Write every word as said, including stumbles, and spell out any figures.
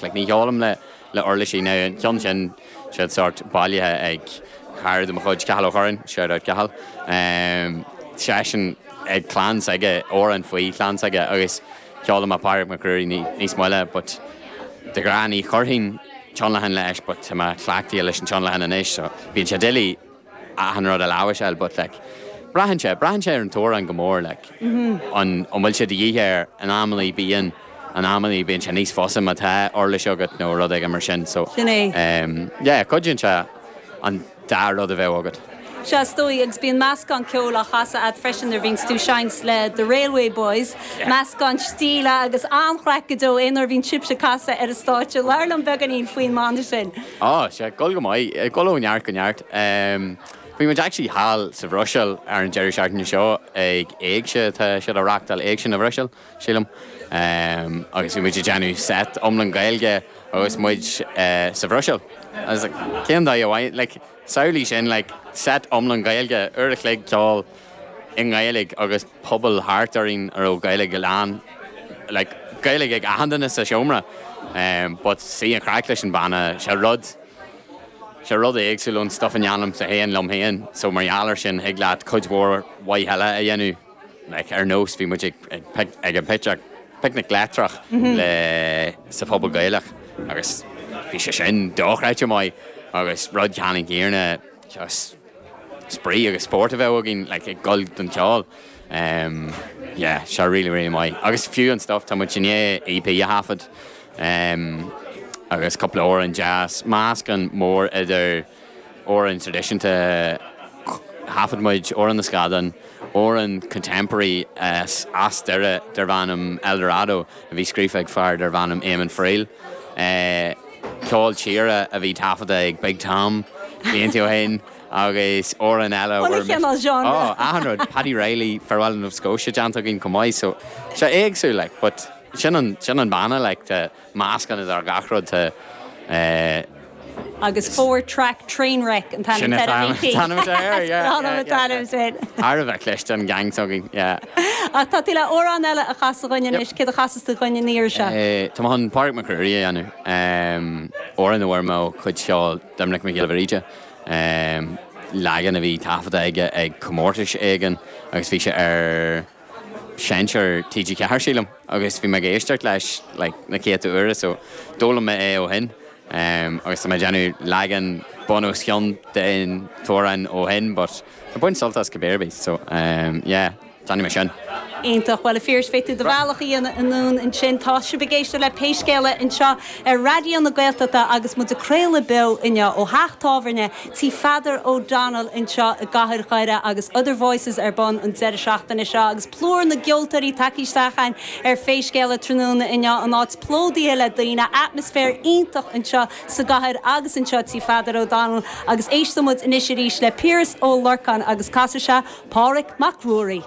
ach like, ní cheolaim le le uirlisí now an ceann sin siad sort bailithe ag cara de mo chuid Cathal Ó Curráin shout out Cathal um, seisean ag clann s'aige amhrán faoi chlann s'aige agus ceolaim Pádraig Mac Ruairí níos moille but de ghnáth ní chuirfinn tionlacan leis but tá mé cleachtaithe leis an tionlacan anois so bíonn sé doiligh achan rud a láimhseáil but like braitheann sé braitheann sé ar an t-amhrán go mór like an an bhfuil sé de dhíth air in amannaí bíonn in amannaí bíonn sé níos fusa má tá uirlis agat nó rud éigin mar sin so Sin é. um, yeah, cuidíonn sé an dá rud a bheith agat. Sea is dóigh agus bíonn meascán ceoil á chasadh agat freisin nuair a bhíonn tú ag seinnt le The Railway Boys, meascán stíle agus an-chraic go deo aon uair a bhíonn sibhse ag casadh ar an stáitse labhair liom beagáinín faoin mbanna sin. Á sé gol go maith gol ó neart go neart. Um, Bhí muid actually thall sa Bhruiséil ar an deireadh seachtaine seo ag éigse tá siad á reáchtáil Éigse na Bruiséil sílim. Um, agus bhí muid ag déanamh set iomlán Gaeilge agus muid uh, sa Bhruiséil. Agus like, cén dá amháin like, samhlaigh sin like, set iomlán Gaeilge uair a chloig ceol i nGaeilge agus pobal thart orainn a raibh Gaeilge go lán like, Gaeilge ag achan duine sa seomra. Um, but sí an chraic leis an banna sé rud sé rud éagsúil ón stuff a dhéanaim sa féin liom féin, so mar gheall air sin thig leat cuid mhór mhaith eile a dhéanamh like, ar nós bhí muid ag, ag, pic- ag an picnic picnic leictreach le sa phobal Gaelach agus bhí sé sin dochreidte maith agus rud ceannann céanna just spraoi agus spórt a bheith againn like, ag gol don cheol. Um, yeah, sé really really maith. Agus fiú an stuff tá muid i ndiaidh EP a thaifead. Um, agus cúpla amhrán jazz meascán mór idir amhráin traidisiúnta thaifead muid Amhrán na Scadán, amhrán contemporary as as Doire darb ainm Eldorado a bhí scríofa ag fear darb ainm Eamon Friel. Uh, ceol tíre a bhí taifeadta ag Big Tom blianta ó shin agus amhrán eile Bhuel, cineál genre. Oh, achan rud Paddy Reilly Farewell Nova Scotia déanta againn chomh maith so sé éagsúil like, but sin an sin an banna like, tá meascán idir gach rud tá uh, Agus four track train wreck an Sin t-ainm an t-ainm air, yeah, yeah, yeah, t-ainm sin. Thar a bheith cliste an gang againn, yeah. Ach tá tú le amhrán eile a chasadh dúinn anois céard a chasfas tú dúinn an iarraidh seo. Eh, Tá an Pádraig Mac Ruairí a dhéanamh amhrán a bhfuair mé ó chuid ceol Doiminic Mac Giolla Bhríde. Um, leagan a bhí taifeadta aige ag comórtas éigin agus bhí sé ar seinnteoir TG Ceathair sílim agus bhí mé ag éisteacht leis like, na céadta uair so d'fhoghlaim mé é ó shin. Um, agus tá mé déanamh leagan bunús ceann den t-amhrán ó shin, but a bain sult as cibé so um, yeah, déanfaidh mé sin. Iontach bhuel a Phiarais beidh tú do bhealach anonn ansin tá sibh ag éisteacht le Pé Scéal É anseo ar Raidió na Gaeltachta agus muid ag craoladh beo inniu ó theach tábhairne Tí Pheadar O'Donnell anseo i gcathair Dhoire agus Other Voices ar bun an deireadh seachtaine seo agus plúr na gceoltóirí tagtha isteach ar Pé Scéal É tráthnóna inniu an áit plódaithe le daoine atmaisféar iontach anseo sa gcathair agus anseo Tí Pheadar O'Donnell agus éistfimid anois arís le Piaras Ó Lorcáin agus casfaidh sé Pádraig Mac Ruairí.